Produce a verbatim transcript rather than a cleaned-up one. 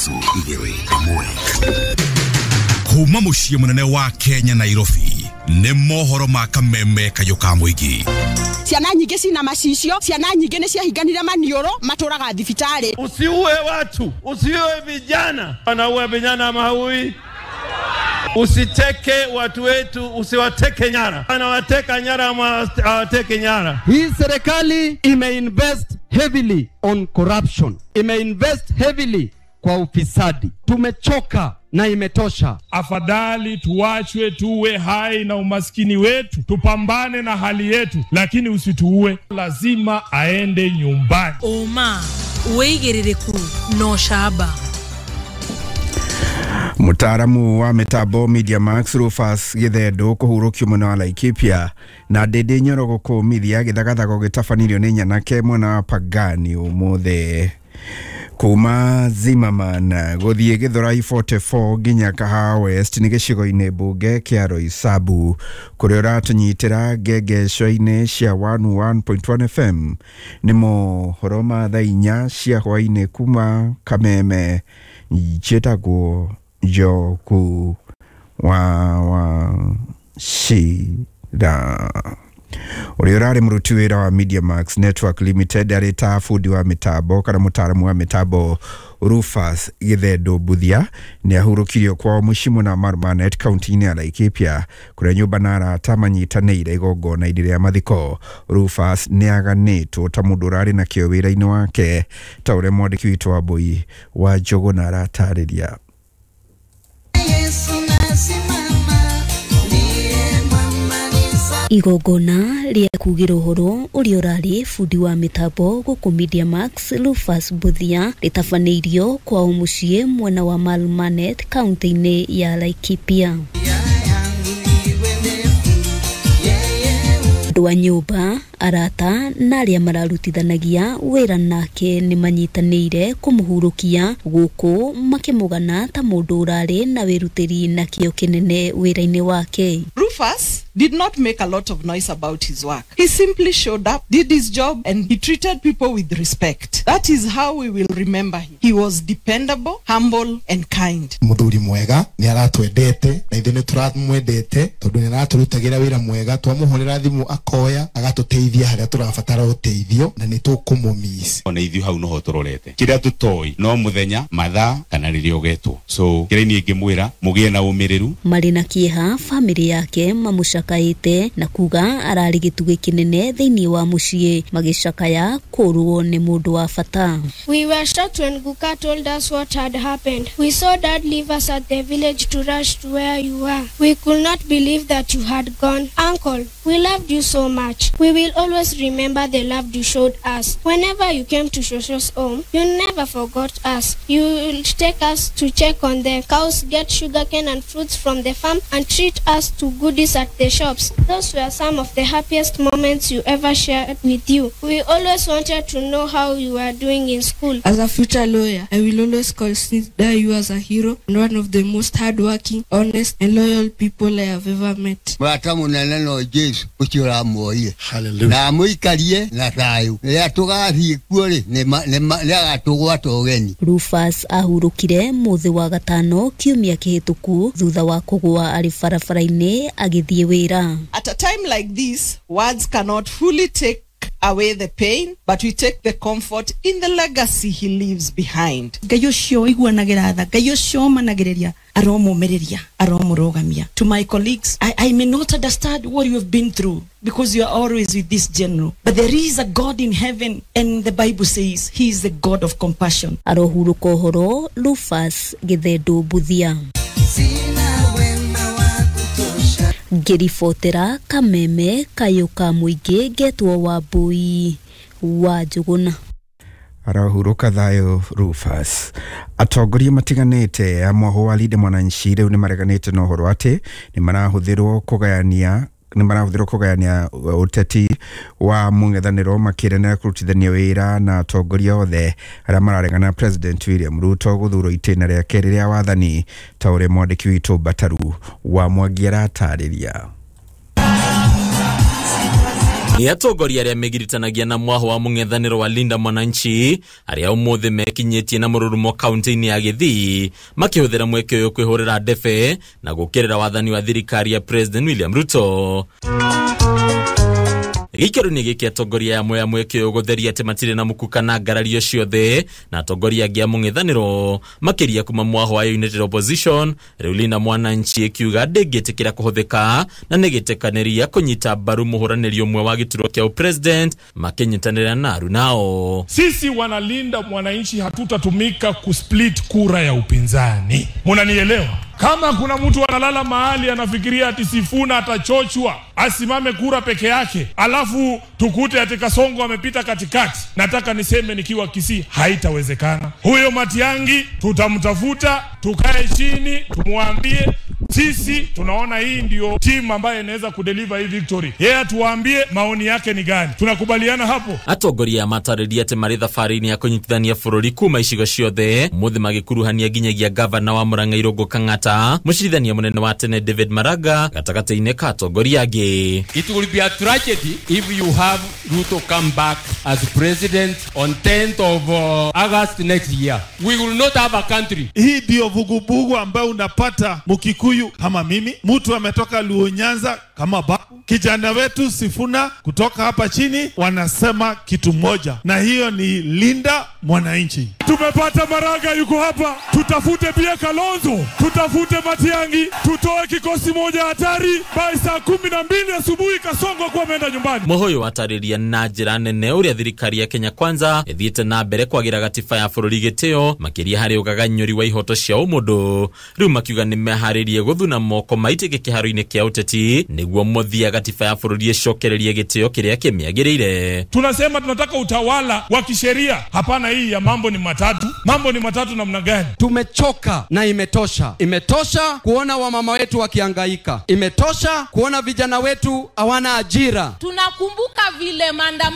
Ithatũ igĩrĩ ĩmwe. Kuma mũciĩ mũnene wa Kenya, Nairobi, nĩ mohoro ma Kameme kayũ ka mũingĩ. Ciana nyingĩ cina macicio, ciana nyingĩ nĩ ciahinganire maniũrũ, matũraga thibitarĩ. Usiue watu, usiue vijana. Wanaua vijana ama haui? Usiteke watu wetu, usiwateke nyara. Anawateka nyara ama hawateke nyara? Hii serikali imeinvest heavily on corruption, imeinvest heavily kwa ufisadi. Tumechoka na imetosha. Afadhali tuachwe tuwe hai na umaskini wetu, tupambane na hali yetu, lakini usituue. Lazima aende nyumbani. Oma wĩigĩrĩrĩku no camba. Mutaaramu wa mitambo Media Max Rufus Githendu kuhurũkio mwena wa Laikipia, na Ndindi Nyoro gũkũmithia gĩthagathago gĩtabanirio nĩ nyanake mwena wa Pangani ũmũthĩ. Kuma Zimmerman gũthiĩ Githurai mĩrongo ĩna na inya nginya Kahawa West nĩ gĩcigo-inĩ mbunge kĩa Roysambu, kũrĩa ũratũnyitĩra ngengeco-inĩ cia ĩmwe ĩmwe pointi ĩmwe F M. Nĩ mohoro ma thaa inya cia hwaĩ-inĩ kuma Kameme. Njĩtagwo Njoku wa Wachira. Ũrĩa ũrarĩ mũruti wĩra wa Media Max Network Limited arĩ ta bundi wa mĩtambo kana mũtaaramu wa mĩtambo Rufus Githendu Mbuthia nĩ ahurũkirio kwao mũciĩ mwena wa Marmanet, kaunti-inĩ ya Laikipia, kũrĩa nyũmba na arata manyitanĩire igongona-inĩ rĩa mathiko. Rufus nĩ aganĩtwo ta mũndũ ũrarĩ na kĩo wĩra-inĩ wake, ta ũrĩa mwandĩki witũ wa Mbui wa Njũgũna aratarĩria. Yesu nasimama, ndiye mwamaliza. Igongona rĩa kugĩra ũhoro ũrĩa ũrarĩ bundi wa mĩtambo gũkũ Media Max Rufus Mbuthia rĩtabanĩirio kwao mũciĩ mwena wa Marmanet, kaunti-inĩ ya Laikipia. Yangu iwe ndefu, yeye Andũ a nyũmba, arata na arĩa mararutithanagia wĩra nake nĩ manyitanĩire kũmũhurũkia gũkũ makĩmũgana ta mũndũ ũrarĩ na wĩrutĩri na kĩo kĩnene wĩra-inĩ wake. Rufus did not make a lot of noise about his work. He simply showed up, did his job, and he treated people with respect. That is how we will remember him. He was dependable, humble, and kind. Muthuri mwega, nĩ aratwendete na ithuĩ nĩ tũramwendete tondũ nĩ aratũrutagĩra wĩra mwega. Twamũhũrĩra thimũ akoya agatũteithia harĩa tũrabatara ũteithio, na nĩ tũkũmũmiss. Ona ithuĩ hau noho tũrorete kĩrĩa tũtoĩ no mũthenya, mathaa kana rĩrĩa ũgetwo, so kĩrĩa niĩ ingĩmwĩra, mũgĩe na ũmĩrĩru. Marĩ na kĩeha, bamĩrĩ yake mamũcakaĩte na kuga ararĩ gĩtugĩ kĩnene thĩinĩ wa mũciĩ, magĩcakaya kũrwo nĩ mũndũ wa bata. We were shocked when Guka told us what had happened. We saw Dad leave us at the village to rush to where you were. We could not believe that you had gone. Uncle, we loved you so much. We will always remember the love you showed us. Whenever you came to Shosho's home, you never forgot us. You will take us to check on the cows, get sugarcane and fruits from the farm, and treat us to goodies at the shops. Those were some of the happiest moments you ever shared with you. We always wanted to know how you were doing in school. As a future lawyer, I will always consider you as a hero and one of the most hardworking, honest, and loyal people I have ever met. Mũrata mũnene no Jesu ũcio ũramuoire na amũikarie na thayũ. Rĩrĩa tũgathiĩ kuo rĩ, nĩ agatũgwata ũgeni. Rufus ahurũkire mũthĩ wa gatano kiumia kĩhĩtũku thutha wa kũgũa arĩ barabara-inĩ agĩthiĩ wĩra. At a time like this, words cannot fully take away the pain, but we take the comfort in the legacy he leaves behind. Ngai ũcio ũiguanagĩra tha, Ngai ũcio ũmanagĩrĩria, aromũmĩrĩria, aromũrũgamia. To my colleagues, I, I may not understand what you have been through because you are always with this general, but there is a God in heaven, and the Bible says he is the God of compassion. Arohurũka ũhoro Rufus Githendu Mbuthia. Sina wema wa kutosha. Ngĩribotera Kameme kayũ ka mũingĩ, ngetwo Wambui wa Njũgũna. Arahurũka thayũ Rufus. Atongoria matiganĩte a mwahũ wa Linda Mwananchi rĩu nĩ mareganĩte na ũhoro atĩ nĩ marahũthĩrwo kũgayania nĩ marahũthĩrwo kũgayania ũteti wa mũng'ethanĩro, makĩrenera kũrutithania wĩra na atongoria othe arĩa mararegana na President William Ruto gũthurwo itĩna rĩa kerĩ rĩa wathani, ta ũrĩa mwandĩki witũ Mbataru wa Mwangi aratarĩria. Nĩ atongoria arĩa megiritanagia na mwaho wa mũng'ethanĩro wa Linda Mwananchi arĩa ũmũthĩ mekinyĩtie na mũrurumo kaunti-inĩ ya Gĩthii makĩhũthĩra mweke ũyũ kwĩhũrĩra ndebe na gũkĩrĩra wathani wa thirikari ya President William Ruto. Gĩikaro-inĩ gĩkĩ atongoria amwe a mweke ũyũ gũtheria atĩ matirĩ na muku kana ngarario ciothe na atongoria angĩ a mũng'ethanĩro makĩria kuma mwaho wa United Opposition. Rĩu Linda Mwananchi ĩkiuga ndĩngĩtĩkĩra kũhũthĩka na nĩgĩtĩkanĩria kũnyita mbaru mũhũranĩri ũmwe wa gĩturwa kĩa president makĩnyitanĩra na arunao. Sisi wanalinda mwananchi hatutatumika kusplit kura ya upinzani. Munanielewa? Kama kuna mtu analala mahali anafikiria ati Sifuna atachochwa asimame kura peke yake, alafu tukute ati Kasongo amepita katikati, nataka niseme nikiwa Kisii, haitawezekana. Huyo Matiangi tutamtafuta, tukae chini tumwambie sisi tunaona hii ndio team ambayo inaweza kudeliver hii victory. Yeye yeah, tuambie maoni yake ni gani. Tunakubaliana hapo. Atongoria matarĩria atĩ marĩ thabarĩ-inĩ ya kũnyitithania bũrũri kuma icigo ciothe mũthĩ magĩkuruhania nginyagia gavana wa Murang'a Irũngũ Kang'ata, mũcirithania mũnene wa tene David Maraga gatagatĩ-inĩ ka atongoria angĩ. It will be a tragedy if you have Ruto come back as president on tenth of uh, August next year. We will not have a country. Hii ndio vuguvugu ambayo unapata Mkikuyu kama mimi, mtu ametoka Luo Nyanza kama babu, kijana wetu Sifuna kutoka hapa chini, wanasema kitu moja, na hiyo ni Linda Mwananchi. Tumepata Maraga yuko hapa, tutafute pia Kalonzo, tutafute Matiangi, tutoe kikosi moja hatari by saa kumi na mbili asubuhi Kasongo kwa ameenda nyumbani. Muhoyo atarĩria na njĩra nene ũrĩa thirikari ya Kenya Kwanza ĩthiĩte na mbere kwagira gatiba ya bũrũri gĩtĩo makĩria harĩ ũgaganyũri wa ihoto cia ũmũndũ. Rĩu makiuga nĩmeharĩrie gũthuna moko maitĩke kĩharo-inĩ kĩa ũteti nĩguo mũthia gatiba ya bũrũri ĩcokererie gĩtĩo kĩrĩa kĩmĩagĩrĩire. Tunasema tunataka utawala wa kisheria, hapana hii ya mambo ni matatu. Mambo ni matatu namna gani? Tumechoka na imetosha. Imetosha kuona wamama wetu wakihangaika. Imetosha kuona vijana wetu hawana ajira. Tunakumbuka vile maandamano